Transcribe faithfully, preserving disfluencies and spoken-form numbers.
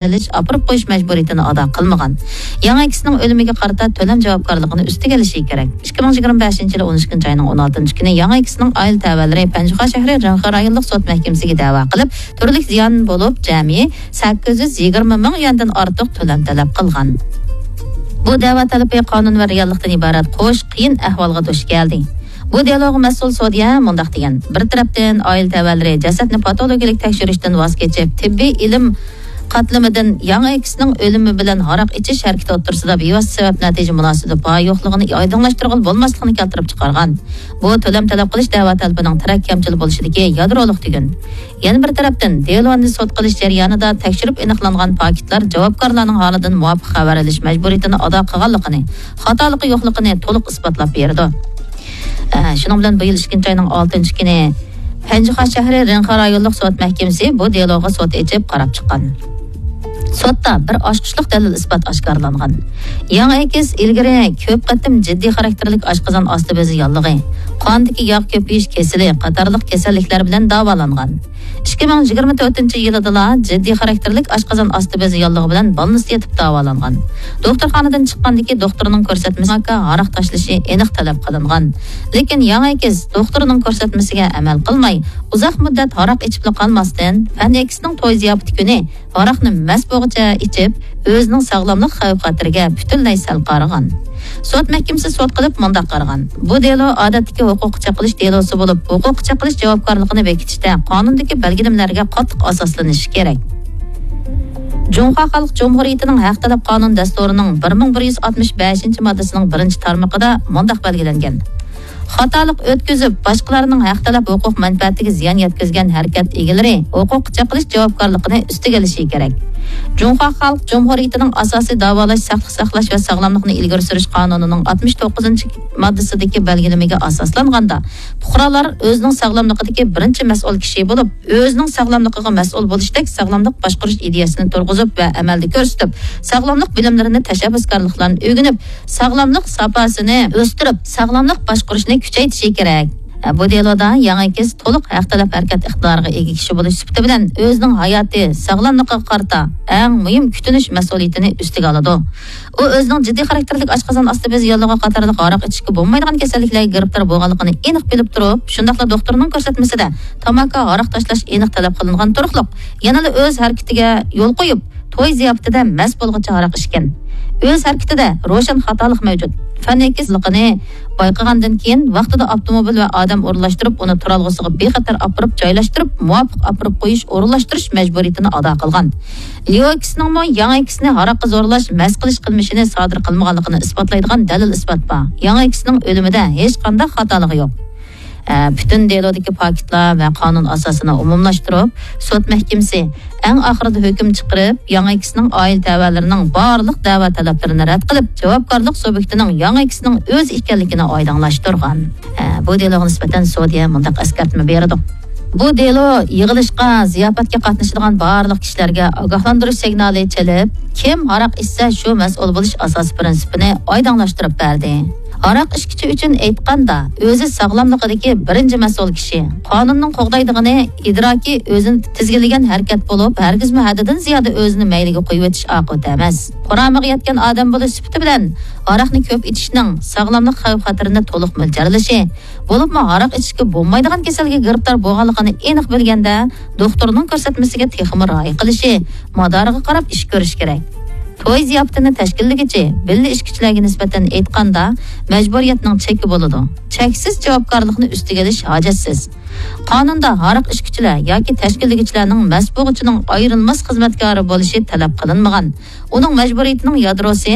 ئېلىش، ئاپىرىپ قويۇش مەجبۇرىيىتىنى ئادا قىلمىغان. ياڭ ئەكىسىنىڭ ئۆلۈمىگە قارىتا تۆلەم جاۋابكارلىقىنى ئۈستىگە ئېلىشى كېرەك. ئىككى مىڭ يىگىرمە بەشىنچى يىلى ئون ئىككىنچى ئاينىڭ ئون ئالتىنچى كۈنى ياڭ ئەكىسىنىڭ ئائىلە تەۋەلىرى پەنجىخان شەھىرى رېڭخې رايونلۇق سوت مەھكىمىسىگە دەۋا قىلىپ، تۈرلۈك زىيان بولۇپ، جەمئىي سەككىز يۈز يىگىرمە مىڭ يۈەندىن ئارتۇق تۆلەم تەلەپ قىلغان. بۇ دەۋا تەلىپى قانۇن ۋە رېئاللىقتىن ئىبارەت قوش قىيىن ئەھۋالغا دۇچ كەلدى. بۇ دېلوغا مەسئۇل سوديە مۇنداق دېگەن: بىر تەرەپتىن، ئائىلە تەۋەلىرى جەسەتنى پاتولوگىيەلىك تەكشۈرۈشتىن ۋاز كېچىپ، تېببىي ئىلىم قاتلىمىدىن ياڭ ئەكىسىنىڭ ئۆلۈمى بىلەن ھاراق ئىچىش ھەرىكىتى ئوتتۇرىسىدا بىۋاسىتە سەۋەب نەتىجە مۇناسىۋىتى بار يوقلۇقىنى ئايدىڭلاشتۇرغىلى بولماسلىقىنى كەلتۈرۈپ چىقارغان. بۇ تۆلەم تەلەپ قىلىش دەۋا تەلىپىنىڭ تەرەپ كەمچىل بولۇشىدىكى يادرولۇق تۈگۈن. يەنە بىر تەرەپتىن، دېلونى سوت قىلىش جەريانىدا تەكشۈرۈپ ئېنىقلانغان پاكىتلار جاۋابكارلارنىڭ ھالىدىن مۇۋاپىق خەۋەر ئېلىش مەجبۇرىيىتىنى ئادا قىلغانلىقىنى، خاتالىقى يوقلۇقىنى تولۇق ئىسپاتلاپ بېرىدۇ. ئە، شۇنىڭ بىلەن بۇ يىل ئىككىنچى ئاينىڭ ئالتىنچى كۈنى پەنجىخان شەھىرى رېڭخا رايونلۇق سوت مەھكىمىسى بۇ دېلوغا سوت ئېچىپ قاراپ چىققان. سوتتا بىر ئاچقۇچلۇق دەلىل ئىسپات ئاشكارىلانغان. ياڭ ئەكىس ئىلگىرى كۆپ قېتىم جىددىي خاراكتېرلىك ئاشقازان ئاستى بېزى ياللۇغى، قاندىكى ياغ كۆپىيىش كېسىلى قاتارلىق كېسەللىكلەر بىلەن داۋالانغان. ئىككى مىڭ يىگىرمە تۆتىنچى يىلىدىلا جىددىي خاراكتېرلىك ئاشقازان ئاستى بېزى ياللۇغى بىلەن بالنىستتا يېتىپ داۋالانغان. دوختۇرخانىدىن چىققاندىكى دوختۇرنىڭ كۆرسەتمىسى ھاراق تاشلىشى ئېنىق تەلەپ قىلىنغان. لېكىن ياڭ ئەكىس دوختۇرنىڭ كۆرسەتمىسىگە ئەمەل قىلماي، ئۇزاق مۇددەت ھاراق ئىچىپلا قالماستىن، پەن ئەكىسىنىڭ توي زىياپىتى كۈنى ھاراقنى مەست بولغۇچە ئىچىپ، ئۆزىنىڭ ساغلاملىق خەۋپ-خەتىرىگە پۈتۈنلەي سەل قارىغان. سوت مەھكىمىسى سوت قىلىپ مۇنداق قارىغان: بۇ دېلو ئادەتتىكى ھوقۇققا چېقىلىش دېلوسى بولۇپ، ھوقۇققا چېقىلىش جاۋابكارلىقىنى بېكىتىشتە قانۇندىكى بەلگىلىمىلەرگە قاتتىق ئاساسلىنىشى كېرەك. جۇڭخۇا خەلق جۇمھۇرىيىتىنىڭ ھەق تەلەپ قانۇن دەستۇرىنىڭ بىر مىڭ بىر يۈز ئاتمىش بەشىنچى ماددىسىنىڭ بىرىنچى تارمىقىدا مۇنداق بەلگىلەنگەن: خاتالىق ئۆتكۈزۈپ، باشقىلارنىڭ ھەق تەلەپ ھوقۇق مەنپەئەتىگە زىيان يەتكۈزگەن ھەرىكەت ئىگىلىرى ھوقۇققا چېقىلىش جاۋابكارلىقىنى ئۈستىگە ئېلىشى كېرەك. جۇڭخۇا خەلق جۇمھۇرىيىتىنىڭ ئاساسىي داۋالاش، ساقلىق ساقلاش ۋە ساغلاملىقنى ئىلگىرى سۈرۈش قانۇنىنىڭ ئاتمىش توققۇزىنچى ماددىسىدىكى بەلگىلىمىگە ئاساسلانغاندا، پۇقرالار ئۆزىنىڭ ساغلاملىقىدىكى بىرىنچى مەسئۇل كىشى بولۇپ، ئۆزىنىڭ ساغلاملىقىغا مەسئۇل بولۇشتەك ساغلاملىق باشقۇرۇش ئىدىيەسىنى تۇرغۇزۇپ ۋە ئەمەلدە كۆرسىتىپ، ساغلاملىق بىلىملىرىنى، تەشەببۇسكارلىقلارنى ئۆگىنىپ، ساغلاملىق ساپاسىنى ئۆستۈرۈپ، ساغلاملىق باشقۇرۇشنى كۈچەيتىشى كېرەك. بۇ دېلودا ياڭ ئەكىس تولۇق ھەق تەلەپ ھەرىكەت ئىقتىدارىغا ئىگە كىشى بولۇش سۈپىتى بىلەن ئۆزىنىڭ ھاياتى، ساغلاملىقىغا قارىتا ئەڭ مۇھىم كۈتۈنۈش مەسئۇلىيىتىنى ئۈستىگە ئالىدۇ. ئۇ ئۆزىنىڭ جىددىي خاراكتېرلىك ئاشقازان ئاستى بېزى ياللۇغى قاتارلىق ھاراق ئىچىشكە بولمايدىغان كېسەللىكلەرگە گىرىپتار بولغانلىقىنى ئېنىق بىلىپ تۇرۇپ، شۇنداقلا دوختۇرنىڭ كۆرسەتمىسىدە تاماكا، ھاراق تاشلاش ئېنىق تەلەپ قىلىنغان تۇرۇقلۇق، يەنىلا ئۆز ھەرىكىتىگە يول قويۇپ، توي زىياپىتىدە مەست بولغۇچە ھاراق ئىچكەن. ئۆز ھەرىكىتىدە روشەن خاتالىق مەۋجۇت. پەن ئېكىسلىقىنى بايقىغاندىن كېيىن، ۋاقتىدا ئاپتوموبىل ۋە ئادەم ئورۇنلاشتۇرۇپ، ئۇنى تۇرالغۇسىغا بىخەتەر ئاپىرىپ جايلاشتۇرۇپ، مۇۋاپىق ئاپىرىپ قويۇش، ئورۇنلاشتۇرۇش مەجبۇرىيىتىنى ئادا قىلغان. ليو ئېكىسنىڭمۇ ياڭ ئېكىسنى ھاراققا زورلاش، مەست قىلىش قىلمىشىنى سادىر قىلمىغانلىقىنى ئىسپاتلايدىغان دەلىل-ئىسپات بار. ياڭ ئېكىسنىڭ ئۆلۈمىدە ھېچقانداق خاتالىقى يوق. ئە، پۈتۈن دېلودىكى پاكىتلار ۋە قانۇن ئاساسىنى ئومۇملاشتۇرۇپ، سوت مەھكىمىسى ئەڭ ئاخىرىدا ھۆكۈم چىقىرىپ، ياڭ ئېكىسنىڭ ئائىلە تەۋەلىرىنىڭ بارلىق دەۋا تەلەپلىرىنى رەت قىلىپ، جاۋابكارلىق سۇبيېكتىنىڭ ياڭ ئېكىسنىڭ ئۆزى ئىكەنلىكىنى ئايدىڭلاشتۇرغان. ئە، بۇ دېلوغا نىسبەتەن سوديە مۇنداق ئەسكەرتمە بېرىدۇ. بۇ دېلو يىغىلىشقا، زىياپەتكە قاتنىشىدىغان بارلىق كىشىلەرگە ئاگاھلاندۇرۇش سىگنالى چېلىپ، كىم ھاراق ئىچسە، شۇ مەسئۇل بولۇش ئاساسىي پىرىنسىپىنى ئايدىڭلاشتۇرۇپ بەردى. ھاراق ئىچكۈچى ئۈچۈن ئېيتقاندا، ئۆزى ساغلاملىقىدىكى بىرىنچى مەسئۇل كىشى. قانۇننىڭ قوغدايدىغىنى ئىدراكى ئۆزىنى تىزگىنلىگەن ھەرىكەت بولۇپ، ھەرگىزمۇ ھەددىدىن زىيادە ئۆزىنى مەيلىگە قويۇۋېتىش ئاقىۋىتى ئەمەس. قۇرامىغا يەتكەن ئادەم بولۇش سۈپىتى بىلەن، ھاراقنى كۆپ ئىچىشنىڭ ساغلاملىق خەۋپ-خەتىرىنى تولۇق مۆلچەرلىشى، بولۇپمۇ ھاراق ئىچىشكە بولمايدىغان كېسەلگە گىرىپتار بولغانلىقىنى ئېنىق بىلگەندە، دوختۇرنىڭ كۆرسەتمىسىگە تېخىمۇ رىئايە قىلىشى، مادارىغا قاراپ ئىش كۆرۈشى كېرەك. توي زىياپىتىنى تەشكىللىگۈچى بىللە ئىچكۈچىلەرگە نىسبەتەن ئېيتقاندا، مەجبۇرىيەتنىڭ چېكى بولىدۇ. چەكسىز جاۋابكارلىقنى ئۈستىگە ئېلىش ھاجەتسىز. قانۇندا ھاراق ئىچكۈچىلەر ياكى تەشكىللىگۈچىلەرنىڭ مەست بولغۇچىنىڭ ئايرىلماس خىزمەتكارى بولۇشى تەلەپ قىلىنمىغان. ئۇنىڭ مەجبۇرىيىتىنىڭ يادروسى